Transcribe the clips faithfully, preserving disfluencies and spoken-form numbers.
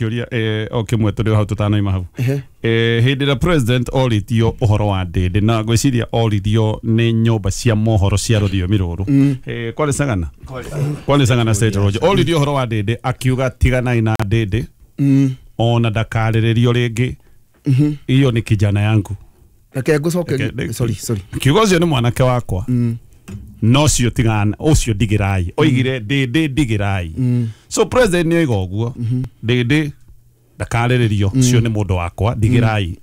Kĩũria eh, o kĩmwe tũrĩ o hau tũtanaima hau. Eh, hĩndĩ ĩrĩa president oritio ũhoro wa Ndĩndĩ na ngwĩciria oririo nĩ nyũmba cia mohoro cia rũthiomi rũrũ, eh, kwarĩ Sagana, kwarĩ Sagana State Lodge, oririo ũhoro wa Ndĩndĩ akiuga tiganai na Ndĩndĩ, ona ndakarĩrĩrio rĩngĩ, iyo ni kijana yangu. Reke ngũcoke. Reke- Sorry, sorry. Kiugo ũcio nĩ mwanake wakwa, no cio tigana ũcio ndigĩrai, oigire Ndĩndĩ ndigĩrai. So president nĩ oiga ũguo, Ndĩndĩ ndakarĩrĩrio, ũcio nĩ mũndũ wakwa, ndigĩrai.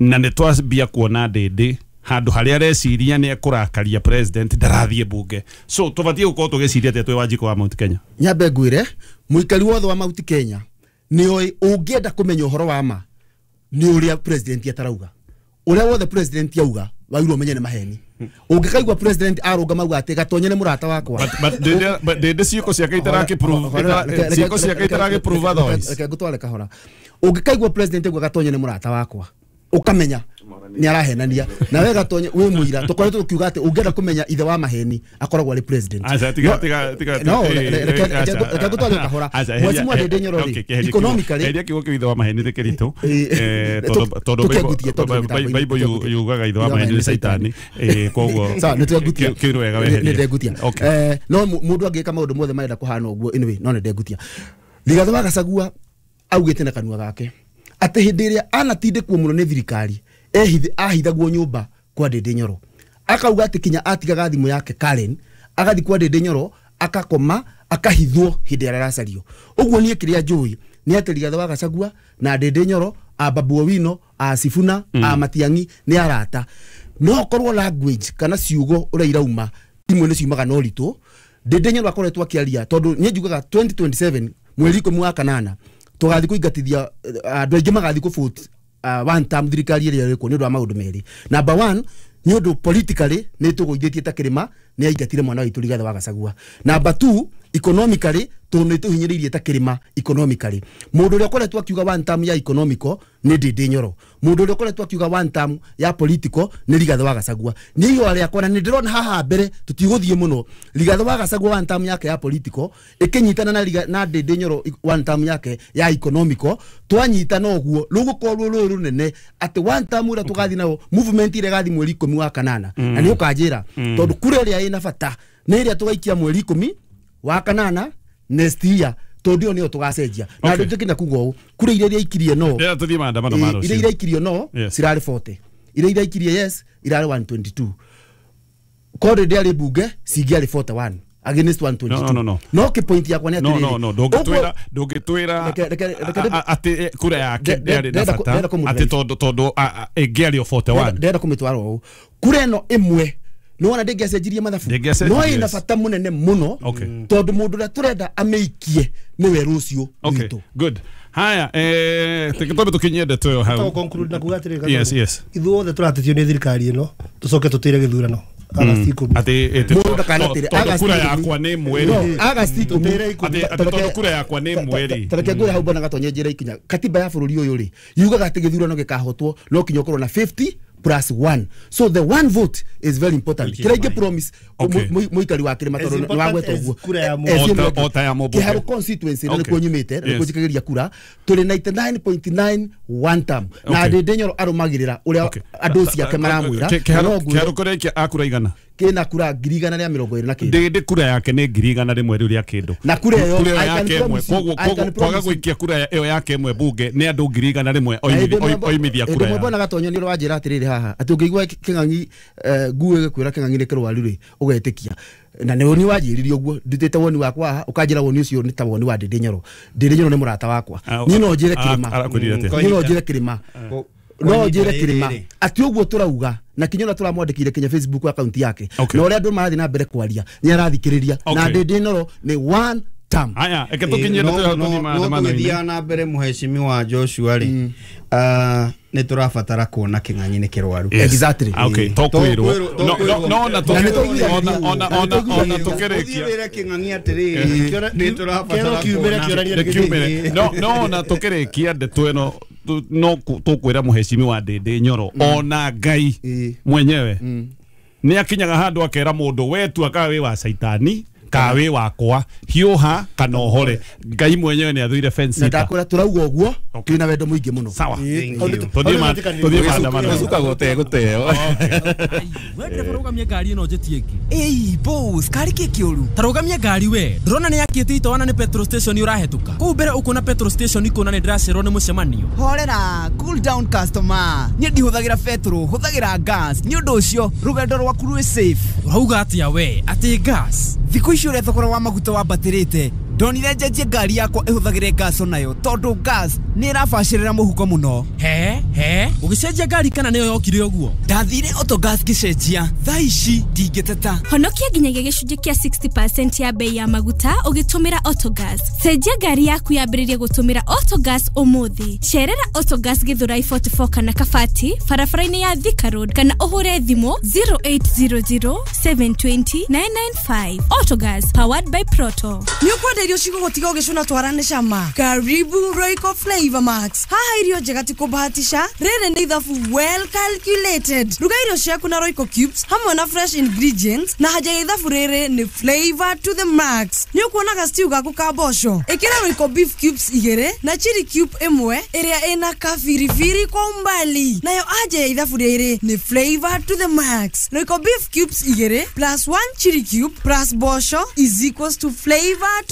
Na nĩ twambia kuona Ndĩndĩ handũ harĩa areciria nĩ ekũrakaria president ndarathiĩ bunge, so tũbatiĩ gũkorwo tũgĩciria atĩa twĩ Wanjikũ wa Mount Kenya? Nyambe ngwĩre mũikari wothe wa Mount Kenya nĩ oĩ, ũngĩenda kũmenya ũhoro wa ma nĩ ũrĩa president atarauga. Ũrĩa wothe president auga wagĩrĩirwo ũmenye nĩ maheni. Ũngĩkaigua president arũngama auga atĩ Gatonye nĩ mũrata wakwa. But- but Ndĩndĩ- but Ndĩndĩ ciĩko ciake itarakĩ-prove, Hora, reke- reke- ciĩko ciake itarakĩ-prove otherwise. Reke ngũtware kahora. Ũngĩkaigua president auga Gatonye nĩ mũrata wakwa, ũkamenya nĩ arahenania. Na we Gatonye wĩ mũira, tũkoretwo tũkiuga atĩ ũngĩenda kũmenya ithe wa maheni akoragwo arĩ president. Aca, tiga- No, tiga- tiga- no, eh, reke- reke- eh, aca. reke ngũtware kahora. Aca, Mheshimiwa eheria- Ndĩndĩ Nyoro okay, rĩ, kĩeheria kiugo- economically eheria kiugo kĩu ithe wa maheni nĩ kĩritũ. Eh, Eh, tu- tondũ- tondũ tũkĩangutie, Bible- tondũ Bible- mĩtambo-inĩ, Bible yu- yugaga ithe wa maheni nĩ Caitani. Eh, koguo Sawa, nĩ twengutia. kĩu- kĩu nĩ wega Nĩ- weherie. nĩ ndengutia. Okay. Eh, no mu- mũndũ angĩka maũndũ mothe marenda kũhana ũguo, anyway, no nĩ ndengutia. Rigathĩ wa Gachagua augĩte na kanua gake atĩ hĩndĩ ĩrĩa anatindĩkwo mũno nĩ thirikari ehithe ahithagwo nyũmba kwa Ndĩndĩ Nyoro, akauga atĩ kinya atigaga thimũ yake Karen agathiĩ kwa Ndĩndĩ Nyoro akakoma akahithwo hĩndĩ ĩrĩa aracario. Ũguo niĩ kĩrĩa njũĩ nĩ atĩ Rigathĩ wa Gachagua na Ndĩndĩ Nyoro a Babu Owino a Sifuna a Matiang'i nĩ arata, no korwo language kana ciugo ũrĩa irauma imwe nĩ ciumaga na ũritũ. Ndĩndĩ Nyoro akoretwo akĩaria tondũ niĩ njugaga twenty twenty-seven mweri ikũmi wa kanana tũgathiĩ kũingatithia eh, andũ aingĩ magathiĩ kũ uh, one term thirikari ĩrĩa ĩrĩkuo nĩ ũndũ wa maũndũ merĩ. Number one, nĩ ũndũ politically nĩ tũgũithĩtie ta kĩrĩma nĩ aingatire mwana witũ Rigathĩ wa Gachagua. Number two, economically tondũ nĩ tũhinyĩrĩirie ta kĩrĩma economically. Mũndũ ũrĩa ũkoretwo akiuga one term ya economical nĩ Ndĩndĩ Nyoro, mũndũ ũrĩa ũkoretwo akiuga one term ya political nĩ Rigathĩ wa Gachagua. Nĩ ihũa rĩakwa na nĩ ndĩrona haha mbere tũtigũthiĩ mũno. Rigathĩ wa Gachagua one term yake ya political ĩkĩnyitana na Riga- na Ndĩndĩ Nyoro one term yake ya economical, twanyitana ũguo rũgũkorwo rũrĩ rũnene atĩ one term ũrĩa tũgathiĩ nayo movement ĩrĩa ĩgathiĩ mweri ikũmi wa kanana. Na nĩ ũkanjĩra tondũ kura ĩrĩa ĩna bata nĩ ĩrĩa tũgaikia mweri ikũmi wa kanana next year, tondũ ĩyo nĩyo tũgacenjia na Okay. andũ njĩkĩna kuga ũũ kura iria iraikirie no Rĩrĩa tũthiĩ maandamano ma iria rũciũ. iraikirio no Yes. cirarĩ mĩrongo ĩna, iria iraikirie yes irarĩ igana rĩa mĩrongo ĩrĩ na igĩrĩ. Korwo ndĩarĩ mbunge cingĩarĩ mĩrongo ĩna na ĩmwe against igana rĩa mĩrongo ĩrĩ na igĩrĩ. No, no, no, no. No kĩ point yakwa nĩ No, atĩrĩrĩ, no, no, ndũngĩtwĩra ndũngĩtwĩra Reke- reke- reke- a- a- atĩ eh, kura yake Nde- ndĩarĩ na ndĩrenda kũ- bata ndĩrenda kũmũ- atĩ tondũ tondũ a- a- ĩngĩarĩ o mĩrongo ĩna na ĩmwe. Ndĩrenda kũmĩtwara ũũ, kura ĩno ĩmwe nĩwona ndĩngĩacenjirie mathabu, Ndĩngĩacenjirie, no ĩna yes. bata mũnene mũno Okay. tondũ mũndũ ũrĩa tũrenda amĩikie nĩwe rũciũ Okay, witũ. good. Haya, eh twambe tũkinyie ndeto ĩyo hau. Conclude na kuga atĩrĩrĩ, Yes, yes. Ithuothe tũratetio nĩ thirikari ĩno tũcoke tũtĩre gĩthurano Agasti ikũmi. Atĩ ĩtĩ Mũndũ ndakanatĩre, tondũ Agasti kura ikũmi. yakwa nĩ ĩmwe No, rĩ. Agasti ikũmi. Tũtĩre ikũmi. Atĩ atĩ tondũ kura yakwa nĩ ĩmwe rĩ. Tareke ngwĩre hau bwana Gatonye njĩra ikinya katiba ya bũrũri ũyũ rĩ yugaga atĩ gĩthurano gĩkahotwo no kinya ũkorwo na fifty plus one, so the one vote is very important. Which is Kĩrĩa ingĩ mine. promise Okay. mu- mũikari wa kĩrĩma As tondũ nĩ important wagweta as ũguo. kura ya Eh, mũmbunge. eh, O ta- o ta ya mũmbunge. Kĩharũ constituency na Okay. nĩkuo nyumĩte na nĩkuo Yes. njikagĩria kura, tũrĩ ninety-nine point nine one term na Okay. Ndĩndĩ Nyoro arũmagĩrĩra ũrĩa Okay. andũ ciake maramwĩra. Kĩ- Na no Kĩharũ ngwĩre kĩharũ kũrĩa akura igana. Kĩna kura ngiri igana rĩa mĩrongo ĩrĩ na kĩndũ. Ndĩndĩ kura yake nĩ ngiri igana rĩmwe rĩu rĩa kĩndũ. Na kura ĩyo, Kura ĩyo I can yake ĩmwe promise you, koguo I can koguo kwaga promise you. gũikia kura ĩyo yake ĩmwe bunge nĩ andũ ngiri igana rĩmwe oimithia oimithia kura Hĩndĩ ĩmwe yao. bwana Gatonyo nĩ ũrĩa wanjĩra atĩrĩrĩ haha atĩ ũngĩigua kĩng'ang'i eh, nguo ĩgĩkwĩra kĩng'ang'i nĩ kĩrwaru rĩ ũgetĩkia, na nĩ woni wanjĩrire ũguo ndutĩte woni wakwa haha ũkanjĩra woni ũcio nĩ ta woni wa Ndĩndĩ Nyoro. Ndĩndĩ Nyoro nĩ mũrata wakwa. Ah, Niĩ no njĩre ah, kĩrĩma, arakwĩrire atĩa? niĩ no njĩre kĩrĩma, Ko- no kwa njĩre ihinda kĩrĩma rĩrĩ. atĩ ũguo tũrauga na kinya ũrĩa tũramwandĩkire kinya Facebook account yake Okay. na ũrĩa andũ marathiĩ na mbere kwaria nĩ arathikĩrĩria na Okay. Ndĩndĩ Nyoro nĩ one term. Haya, reke tũkinyie ndeto ĩyo tũthiĩ no maandamano-inĩ. tũgĩthiaga na mbere mũhecimiwa Joshua rĩ, ah, nĩ tũrabatara kuona kĩng'ang'i nĩ kĩrwaru. Yes. Exactly. Ah, okay, to To kwĩrwo. kwĩrwo- to No, no, kwĩrwo. no, ona Na nĩ tũiguithanĩria. ona ona Na nĩ ona ona tũiguithanĩria. Ũthiĩ tũkĩrĩkia wĩre kĩng'ang'i atĩrĩrĩ, Kĩora- nĩ tũrabatara kĩero kiumĩre kuona. kĩonanie nĩ kiumĩre. No, no ona tũkĩrĩkia ndeto ĩno tu- no ku- tũkwĩra mũhecimiwa Ndĩndĩ Nyoro ona Ngai Ĩĩ. mwenyewe nĩ akinyaga handũ akera mũndũ we tua kana wĩ wa caitani Kawe wakwa hiũha kana ũhore. Ngai mwenyewe nĩ athũire fence. Na ndakwĩra tũrauga ũguo twĩna wendo mũingĩ mũno. Sawa. Tũthiĩ ma tũthiĩ maandamano. Gũcuka gũte gũteo. We ndereba rũgamia ngari ĩno njĩtie ĩngĩ. Ĩi boss, kari kĩ kĩũru? Ta rũgamia ngari we. Ndĩrona nĩ yakĩte itoana nĩ petrol station ũrahetũka. Kũu mbere ũkuona petrol station ikuona nĩ ndĩracerwo nĩ mũcemanio. Horera, cool down customer. Niĩ ndihũthagĩra petrol, hũthagĩra gas. Nĩ ũndũ ũcio rũgendo rwaku rwĩ safe. Ũrauga atĩa we? Atĩ gas? Thikũ ici ũrĩa thogora wa maguta wambatĩrĩte, ndonire njenjie ngari yakwa ĩhũthagĩre gas onayo tondũ gas nĩ ĩrabacĩrĩra mũhuko mũno. He he, ũgĩcenjia ngari kana nĩyo yokire ũguo? Ndathire Autogas ngĩcenjia, thaa ici ndingĩteta. Honokia nginyagia gĩcunjĩ kĩa sixty percent ya bei ya maguta ũgĩtũmĩra Autogas. Cenjia ngari yaku yambĩrĩrie gũtũmĩra Autogas ũmũthĩ. Cerera Autogas Githurai forty-four kana Kabati barabara-inĩ ya Thika Road kana ũhũre thimũ zero eight zero zero seven two zero nine nine five. Autogas, powered by Proto. Nĩ irio cigũgũtiga ũgĩcũna twarane cama. Karibu Royco Flavor Max. Haha irio njega ti kũbahatisha, rĩrĩ nĩ ithabu well calculated. Ruga irio ciaku na Royco cubes hamwe na fresh ingredients na haja ya ithabu rĩrĩ nĩ flavor to the max. Nĩ ũkuonaga stew gaku ka mboco. Ĩkĩra Royco beef cubes igĩrĩ na chili cube ĩmwe ĩrĩa ĩna kabiribiri kwa umbali. Nayo haja ya ithabu rĩrĩ nĩ flavor to the max. Royco beef cubes igĩrĩ plus one chili cube plus mboco is equals to flavor to